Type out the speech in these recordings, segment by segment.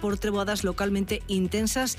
por treboadas localmente intensas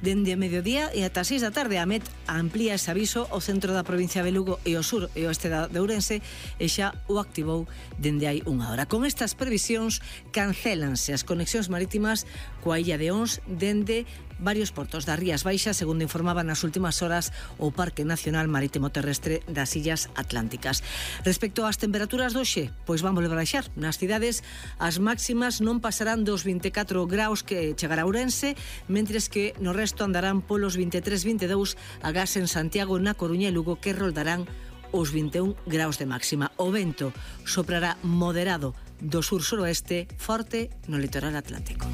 dende mediodía e ata 6 da tarde. A Met amplía ese aviso ao centro da provincia de Lugo e ao sur e oeste de Ourense e xa o activou dende hai unha hora. Con estas previsións cancélanse as conexións marítimas coa illa de Ons dende varios portos das Rías Baixas, segundo informaba nas últimas horas o Parque Nacional Marítimo Terrestre das Illas Atlánticas. Respecto ás temperaturas do hoxe, pois van volver a baixar. Nas cidades as máximas non pasarán dos 24 graus que chegará a Ourense, mentres que no resto andarán polos 23-22, agás en Santiago, na Coruña e Lugo, que roldarán os 21 graus de máxima. O vento soprará moderado do sur-suroeste, forte no litoral atlántico.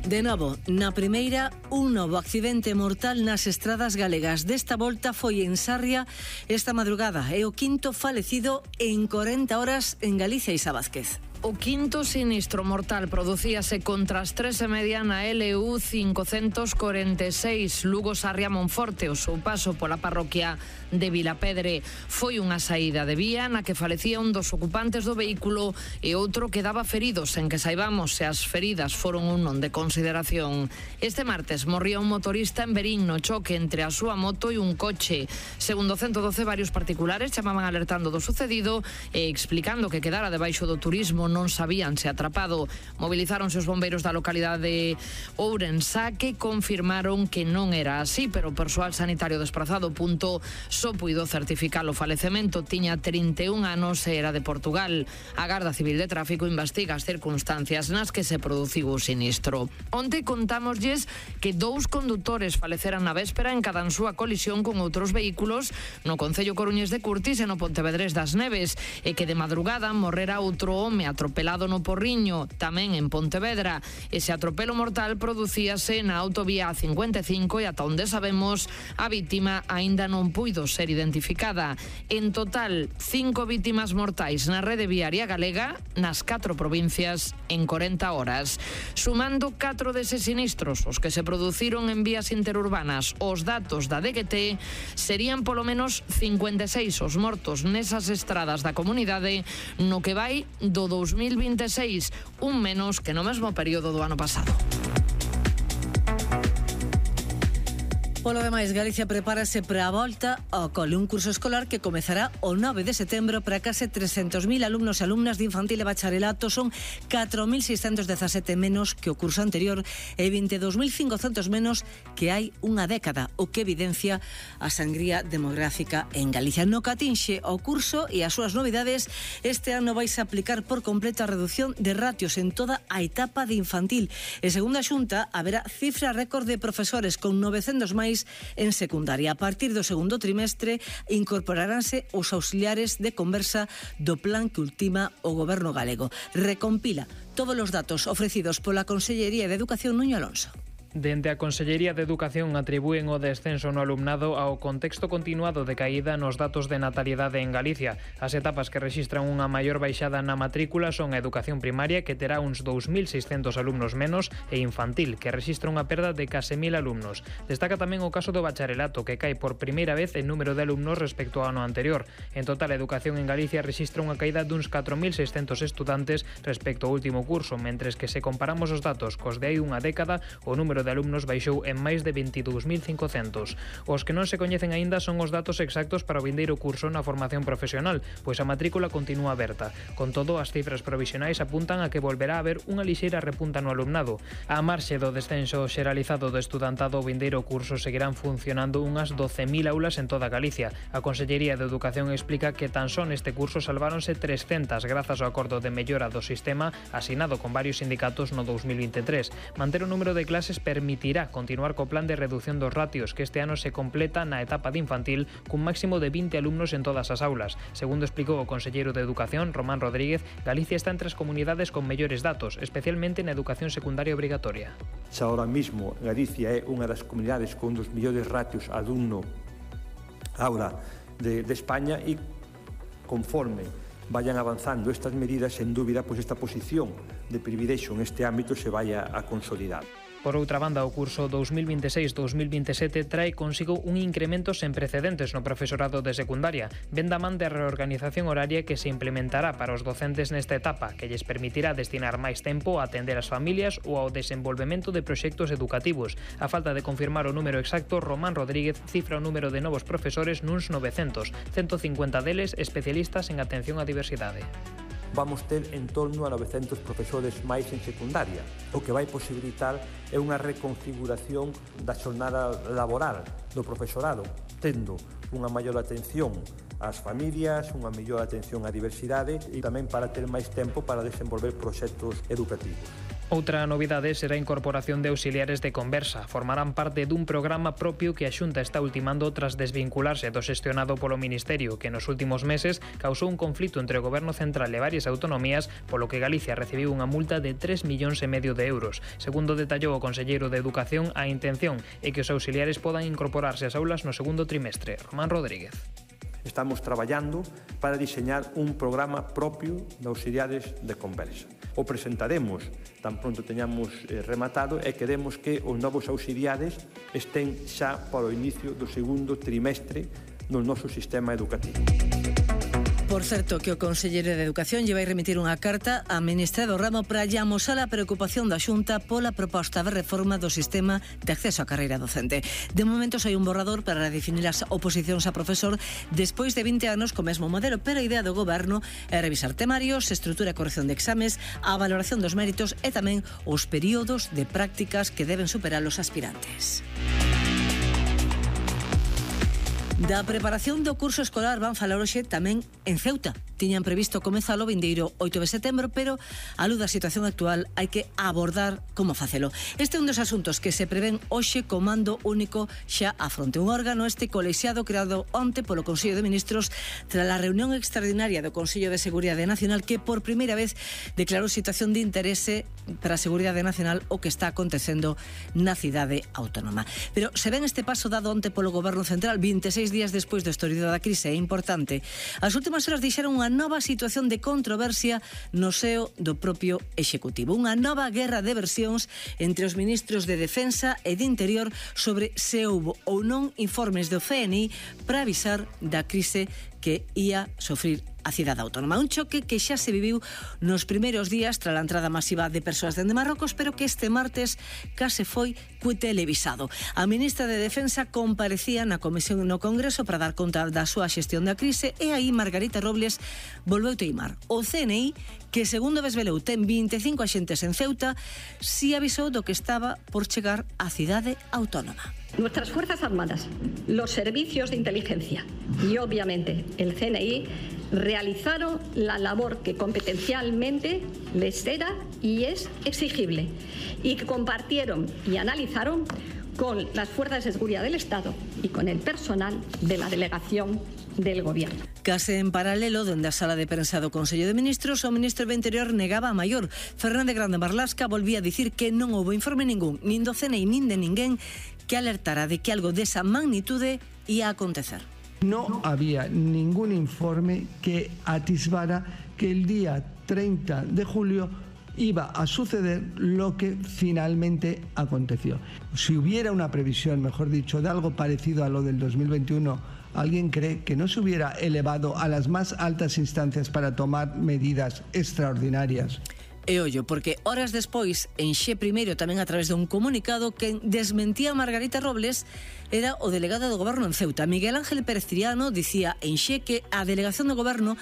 De novo, na primeira, un novo accidente mortal nas estradas galegas. Desta volta foi en Sarria esta madrugada. É o quinto falecido en 40 horas en Galicia, Isa Vázquez. O quinto sinistro mortal producíase contra as 3:30 na LU 546 Lugo-Sarria Monforte, o seu paso pola parroquia de Vilapedre. Foi unha saída de vía na que falecía un dos ocupantes do vehículo e outro quedaba ferido, sen que saibamos se as feridas foron un non de consideración. Este martes morría un motorista en Verín no choque entre a súa moto e un coche. Segundo o 112, varios particulares chamaban alertando do sucedido e explicando que quedara debaixo do turismo non sabían se atrapado. Movilizáronse os bombeiros da localidade de Ourense, que confirmaron que non era así, pero o persoal sanitario desprazado punto só puido certificar o falecemento. Tiña 31 anos e era de Portugal. A Garda Civil de Tráfico investiga as circunstancias nas que se produciu o sinistro. Onte contámoslles que 2 condutores faleceran na véspera en cada súa colisión con outros vehículos no concello coruñés de Curtis e no Pontevedrés das Neves, e que de madrugada morrera outro home atropelado no Porriño, tamén en Pontevedra. Ese atropelo mortal producíase na autovía A55 e ata onde sabemos a vítima aínda non puido ser identificada. En total, 5 vítimas mortais na rede viaria galega nas 4 provincias en 40 horas. Sumando 4 deses sinistros, os que se produciron en vías interurbanas, os datos da DGT serían polo menos 56 os mortos nesas estradas da comunidade no que vai do 2026, un menos que no mesmo período do ano pasado. Polo demais, Galicia prepárase para a volta ao cole, un curso escolar que comezará o 9 de setembro para case 300.000 alumnos e alumnas de infantil e bacharelato. Son 4.617 menos que o curso anterior e 22.500 menos que hai unha década, o que evidencia a sangría demográfica en Galicia. No que atinxe ao curso e as súas novidades, este ano vais a aplicar por completo a reducción de ratios en toda a etapa de infantil. E segundo a Xunta, haberá cifra récord de profesores con 900 máis en secundaria. A partir do segundo trimestre incorporaránse os auxiliares de conversa do plan que ultima o goberno galego. Recompila todos os datos ofrecidos pola Consellería de Educación, Nuño Alonso. Dende a Consellería de Educación atribúen o descenso no alumnado ao contexto continuado de caída nos datos de natalidade en Galicia. As etapas que rexistran unha maior baixada na matrícula son a educación primaria, que terá uns 2.600 alumnos menos, e infantil, que rexistra unha perda de case 1.000 alumnos. Destaca tamén o caso do bacharelato, que cae por primeira vez en número de alumnos respecto ao ano anterior. En total, a educación en Galicia rexistra unha caída duns 4.600 estudantes respecto ao último curso, mentres que se comparamos os datos cos de hai unha década, o número de alumnos baixou en máis de 22.500. Os que non se coñecen aínda son os datos exactos para o vindeiro curso na formación profesional, pois a matrícula continúa aberta. Con todo, as cifras provisionais apuntan a que volverá a haber unha lixeira repunta no alumnado. A marxe do descenso xeralizado do estudantado, o vindeiro curso seguirán funcionando unhas 12.000 aulas en toda Galicia. A Consellería de Educación explica que tan só neste curso salváronse 300 grazas ao acordo de mellora do sistema asinado con varios sindicatos no 2023. Manter o número de clases permitirá continuar co plan de reducción dos ratios, que este ano se completa na etapa de infantil cun máximo de 20 alumnos en todas as aulas. Segundo explicou o conselleiro de Educación, Román Rodríguez, Galicia está entre as comunidades con mellores datos, especialmente na educación secundaria obrigatoria. Xa ahora mismo Galicia é unha das comunidades con dos mellores ratios alumno aula de España, e conforme vayan avanzando estas medidas, sen dúbida, pois esta posición de privilexio en este ámbito se vai a consolidar. Por outra banda, o curso 2026-2027 trae consigo un incremento sen precedentes no profesorado de secundaria, ben da man de reorganización horaria que se implementará para os docentes nesta etapa, que lles permitirá destinar máis tempo a atender as familias ou ao desenvolvemento de proxectos educativos. A falta de confirmar o número exacto, Román Rodríguez cifra o número de novos profesores nuns 900, 150 deles especialistas en atención á diversidade. Vamos ter en torno a 900 profesores máis en secundaria, o que vai posibilitar é unha reconfiguración da xornada laboral do profesorado, tendo unha maior atención ás familias, unha mellor atención á diversidade e tamén para ter máis tempo para desenvolver proxectos educativos. Outra novidade será a incorporación de auxiliares de conversa. Formarán parte dun programa propio que a Xunta está ultimando tras desvincularse do xestionado polo Ministerio, que nos últimos meses causou un conflito entre o Goberno Central e varias autonomías, polo que Galicia recibiu unha multa de 3,5 millóns de euros. Segundo detallou o conselleiro de Educación, a intención é que os auxiliares podan incorporarse ás aulas no segundo trimestre. Román Rodríguez. Estamos traballando para diseñar un programa propio de auxiliares de conversa. O presentaremos tan pronto teñamos rematado e queremos que os novos auxiliares estén xa para o inicio do segundo trimestre no noso sistema educativo. Por certo, que o conselleiro de Educación lle vai remitir unha carta á ministra do ramo para lle amosar a preocupación da Xunta pola proposta de reforma do sistema de acceso á carreira docente. De momento hai un borrador para redefinir as oposicións a profesor despois de 20 anos co mesmo modelo, pero a idea do goberno é revisar temarios, estrutura e corrección de exames, a valoración dos méritos e tamén os períodos de prácticas que deben superar os aspirantes. Da preparación do curso escolar van falar hoxe tamén en Ceuta. Tiñan previsto comezalo o vindeiro 8 de setembro, pero a luz da situación actual hai que abordar como facelo. Este é un dos asuntos que se prevén hoxe comando único xa a fronte. Un órgano colexiado creado onte polo Consello de Ministros tras a reunión extraordinaria do Consello de Seguridade Nacional que por primeira vez declarou situación de interese para a Seguridade Nacional o que está acontecendo na cidade autónoma. Pero se ven este paso dado onte polo Goberno Central 26 días despois do estorido da crise é importante. As últimas horas deixaron unha nova situación de controversia no seo do propio Executivo. Unha nova guerra de versións entre os ministros de Defensa e de Interior sobre se houbo ou non informes do CNI para avisar da crise que ia sofrir a cidade autónoma. Un choque que xa se viviu nos primeiros días tras a entrada masiva de persoas dende Marrocos, pero que este martes case foi televisado. A ministra de Defensa comparecía na comisión no Congreso para dar conta da súa xestión da crise e aí Margarita Robles volveu teimar. O CNI, que segundo Vesveleu ten 25 axentes en Ceuta, si avisou do que estaba por chegar á cidade autónoma. Nuestras Fuerzas Armadas, los servicios de inteligencia y obviamente el CNI realizaron la labor que competencialmente les era y es exigible y que compartieron y analizaron con las fuerzas de seguridad del Estado y con el personal de la delegación del Gobierno. Case en paralelo, dende a sala de prensa do Consello de Ministros, o ministro do Interior negaba a maior. Fernández Grande Marlasca volvía a dicir que non houbo informe ningún, nin do CNI nin de ninguén, que alertara de que algo desa magnitude ia acontecer. No había ningún informe que atisbara que el día 30 de julio iba a suceder lo que finalmente aconteció. Si hubiera una previsión, mejor dicho, de algo parecido a lo del 2021, ¿alguien cree que no se hubiera elevado a las más altas instancias para tomar medidas extraordinarias? E ollo, porque horas despois, en Xe primeiro tamén a través dun comunicado que desmentía a Margarita Robles era o delegado do Goberno en Ceuta. Miguel Ángel Pérez Triano dicía en Xe que a delegación do Goberno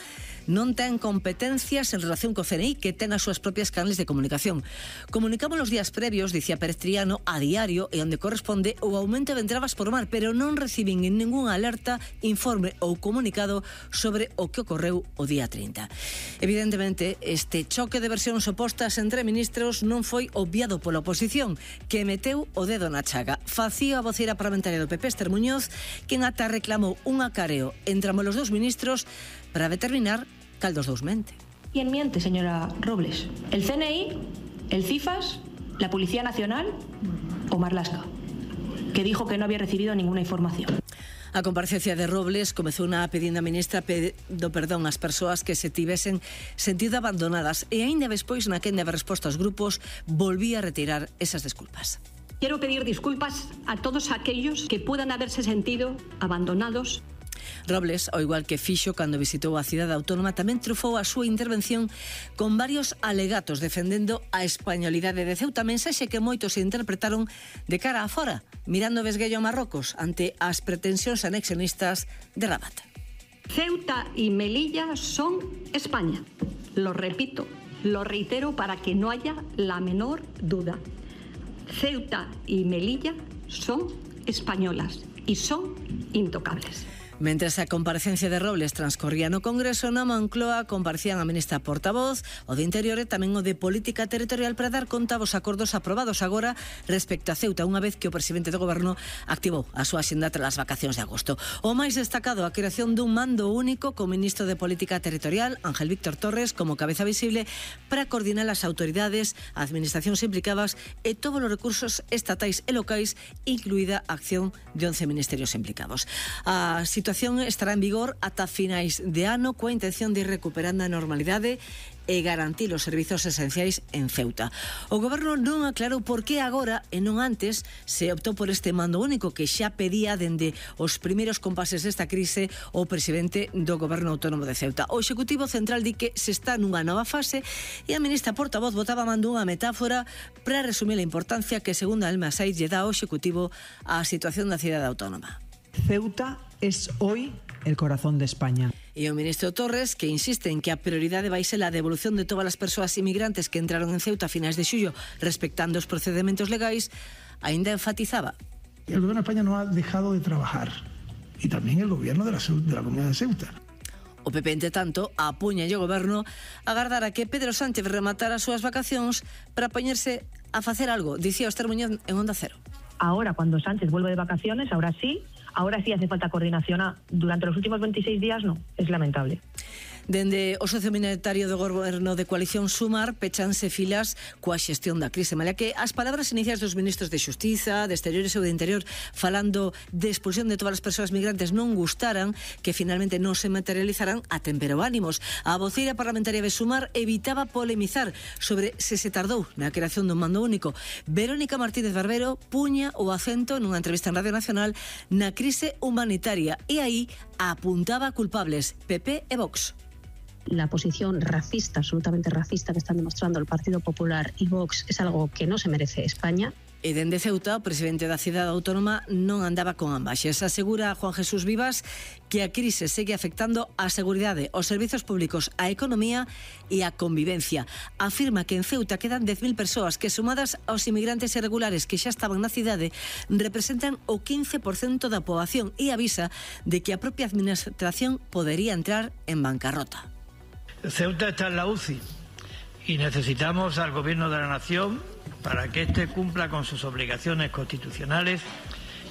non ten competencias en relación co CNI, que ten as súas propias canales de comunicación. Comunicamos os días previos, dicía Pérez Triano, a diario e onde corresponde o aumento de entradas por mar, pero non recibín en ninguna alerta, informe ou comunicado sobre o que ocorreu o día 30. Evidentemente, este choque de versións opostas entre ministros non foi obviado pola oposición, que meteu o dedo na chaga. Facía a voceira parlamentaria do PP, Esther Muñoz, quen ata reclamou un acareo entre ambos os dous ministros para determinar cal dos dous mente. ¿Quién miente, señora Robles? ¿El CNI, el CIFAS, la Policía Nacional o Marlaska, que dijo que no había recibido ninguna información? A comparecencia de Robles comezou na pedindo a ministra do perdón ás persoas que se tivesen sentido abandonadas e aínda despois na quenda de resposta aos grupos volvía a retirar esas desculpas. Quiero pedir disculpas a todos aquellos que puedan haberse sentido abandonados. Robles, ao igual que fixo cando visitou a cidade autónoma, tamén trufou a súa intervención con varios alegatos defendendo a españolidade de Ceuta, mensaxe que moitos interpretaron de cara a fora, mirando vesguello a Marrocos ante as pretensións anexionistas de Rabat. Ceuta y Melilla son España. Lo repito, lo reitero para que no haya la menor duda. Ceuta y Melilla son españolas y son intocables. Mentres a comparecencia de Robles transcorría no Congreso, na Moncloa comparecían a ministra portavoz, o de Interior e tamén o de Política Territorial para dar conta dos acordos aprobados agora respecto a Ceuta, unha vez que o presidente do Goberno activou a súa axenda tras as vacacións de agosto. O máis destacado, a creación dun mando único co ministro de Política Territorial, Ángel Víctor Torres, como cabeza visible para coordinar as autoridades, administracións implicadas e todos os recursos estatais e locais, incluída a acción de 11 ministerios implicados. A situación estará en vigor ata finais de ano coa intención de ir recuperando a normalidade e garantir os servizos esenciais en Ceuta. O Goberno non aclarou por que agora e non antes se optou por este mando único que xa pedía dende os primeiros compases desta crise o presidente do Goberno Autónomo de Ceuta. O Executivo Central di que se está nunha nova fase e a ministra portavoz botaba mando unha metáfora para resumir a importancia que, segundo Alma Saiz, lle dá ao Executivo á situación da cidade autónoma. Ceuta es hoy el corazón de España. E o ministro Torres, que insiste en que a prioridade vai ser a devolución de todas as persoas inmigrantes que entraron en Ceuta a finais de xullo, respectando os procedementos legais, aínda enfatizaba. El gobierno de España no ha dejado de trabajar, y también el gobierno de la comunidad de Ceuta. O PP, entre tanto, apuña o Goberno a agardar a que Pedro Sánchez rematara as súas vacacións para poñerse a facer algo, dicía Esther Muñoz en Onda Cero. Ahora, cuando Sánchez vuelve de vacaciones, ahora sí hace falta coordinación. Durante los últimos 26 días no, es lamentable. Dende o socio minoritario do Goberno de coalición Sumar pechanse filas coa xestión da crise, malia que as palabras iniciais dos ministros de Xustiza, de Exteriores e de Interior falando de expulsión de todas as persoas migrantes non gustaran, que finalmente non se materializaran, atemperou ánimos. A voceira parlamentaria de Sumar evitaba polemizar sobre se tardou na creación dun mando único. Verónica Martínez Barbero puña o acento nunha entrevista en Radio Nacional na crise humanitaria e aí apuntaba culpables PP e Vox. La posición racista, absolutamente racista, que están demostrando el Partido Popular y Vox es algo que no se merece España. E dende Ceuta, o presidente da cidade autónoma non andaba con ambaxes. Asegura Juan Jesús Vivas que a crise segue afectando a seguridade, os servizos públicos, a economía e a convivencia. Afirma que en Ceuta quedan 10.000 persoas que, sumadas aos inmigrantes irregulares que xa estaban na cidade, representan o 15% da poboación e avisa de que a propia administración podería entrar en bancarrota. Ceuta está en la UCI y necesitamos al Gobierno de la Nación para que éste cumpla con sus obligaciones constitucionales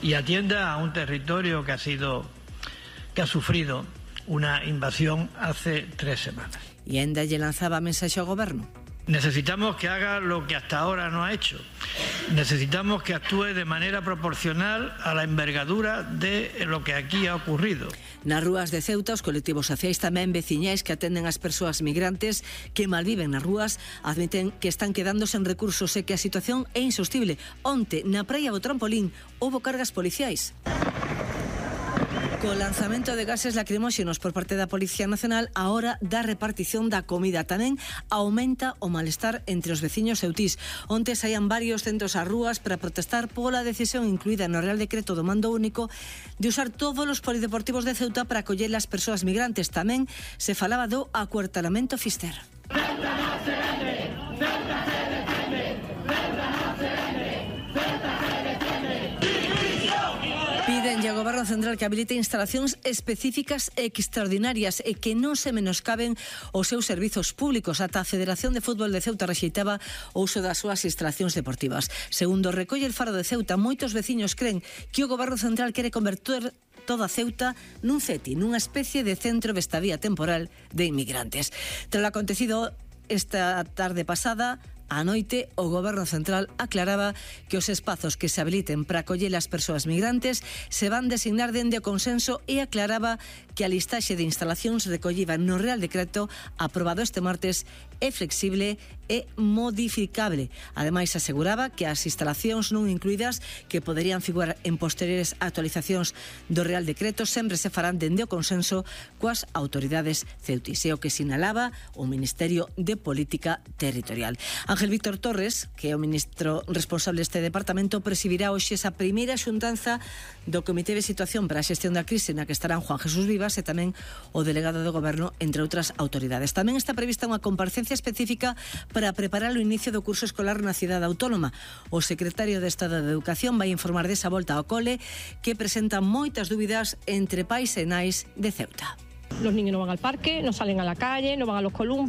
y atienda a un territorio que ha sufrido una invasión hace 3 semanas. E ainda lle lanzaba mensaxe ao Goberno. Necesitamos que haga lo que hasta ahora no ha hecho. Necesitamos que actúe de manera proporcional a la envergadura de lo que aquí ha ocurrido. Nas rúas de Ceuta, os colectivos sociais tamén veciñais que atenden as persoas migrantes que malviven nas rúas admiten que están quedando sen recursos e que a situación é insostible. Onte, na praia do Trampolín, houbo cargas policiais. Co lanzamento de gases lacrimóxenos por parte da Policía Nacional, a hora da repartición da comida tamén aumenta o malestar entre os veciños ceutís. Onte saían varios centros ás rúas para protestar pola decisión incluída no Real Decreto do Mando Único de usar todos os polideportivos de Ceuta para acoller as persoas migrantes. Tamén se falaba do acuartelamento Fister. Ceuta no se vende, Ceuta se defiende, Ceuta no se vende, Ceuta se defiende. Piden ao Goberno Central que habilite instalacións específicas e extraordinarias e que non se menoscaben os seus servizos públicos. Ata a Federación de Fútbol de Ceuta rexeitaba o uso das súas instalacións deportivas. Segundo recolle el Faro de Ceuta, moitos veciños creen que o Goberno Central quere converter toda Ceuta nun CETI, nunha especie de centro de estadía temporal de inmigrantes. Tras lo acontecido esta tarde pasada, a noite, o Goberno Central aclaraba que os espazos que se habiliten para acoller as persoas migrantes se van designar dende o consenso e aclaraba que a listaxe de instalacións recollida no Real Decreto aprobado este martes é flexible e modificable. Ademais, aseguraba que as instalacións non incluídas que poderían figurar en posteriores actualizacións do Real Decreto sempre se farán dende o consenso coas autoridades ceutís, e o que sinalaba o Ministerio de Política Territorial. Ángel Víctor Torres, que é o ministro responsable deste departamento, presidirá hoxe esa primeira xuntanza do Comité de Situación para a Xestión da Crise, na que estarán Juan Jesús Vivas e tamén o delegado do Goberno, entre outras autoridades. Tamén está prevista unha comparecencia específica para preparar o inicio do curso escolar na cidade autónoma. O secretario de Estado de Educación vai informar desa volta ao cole, que presenta moitas dúbidas entre pais e nais de Ceuta. Los niños no van al parque, no salen a la calle, no van a los columpios.